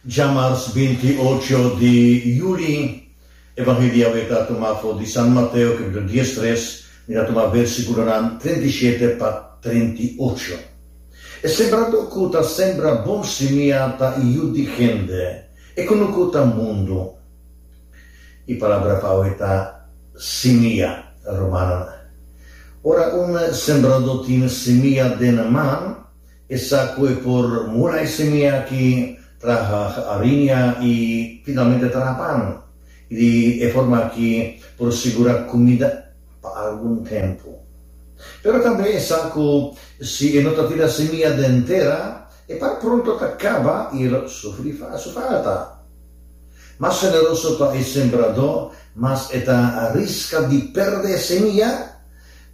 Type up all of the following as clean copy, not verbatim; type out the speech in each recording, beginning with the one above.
Djamars 28 di juli, Evangelio awe ta tuma for di San Mateo capítulo 13, mi ta tuma versiculonan 37 pa 38. E sembradó cu ta sembra bon simia ta yu di hende, e cunucu ta mundu. E palabra pa awe ta simia, rumannan. Ora un sembradó tin simia den man, e sa ku e por mula e simia aki, traha hariña i finalmente traha pan. I di e forma aki por sigurá kumida pa algun tempu. Pero tambe e sa ku si e no ta tira simia den tera, e pan pronto ta kaba i e lo sufri su falta. Mas generoso ta e sembradó, mas e ta riska di pèrdè e semia,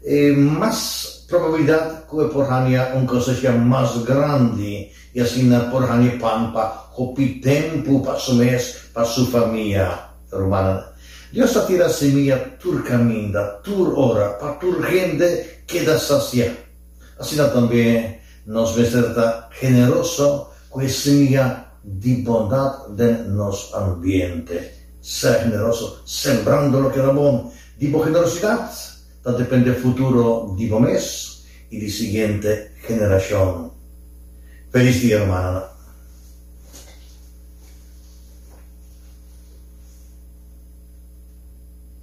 e mas probabilidat ku e por haña un kosecha mas grandi i asina por haña pan pa hopi tempu pa su mes, pa su famia. Rumannan, Dios ta tira semia tur kaminda, tur ora, pa tur hende keda sasiá. Asina tambe nos mester ta generoso ku e semia di bondat den nos ambiente. Sea generoso sembrando loke ta bon. Di bo generosidat ta depende futuro di bo mes i di siguiente generashon. Felis dia rumannan.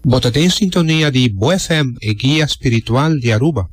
Bo ta den sintonia di Bo FM, e guia spiritual di Aruba.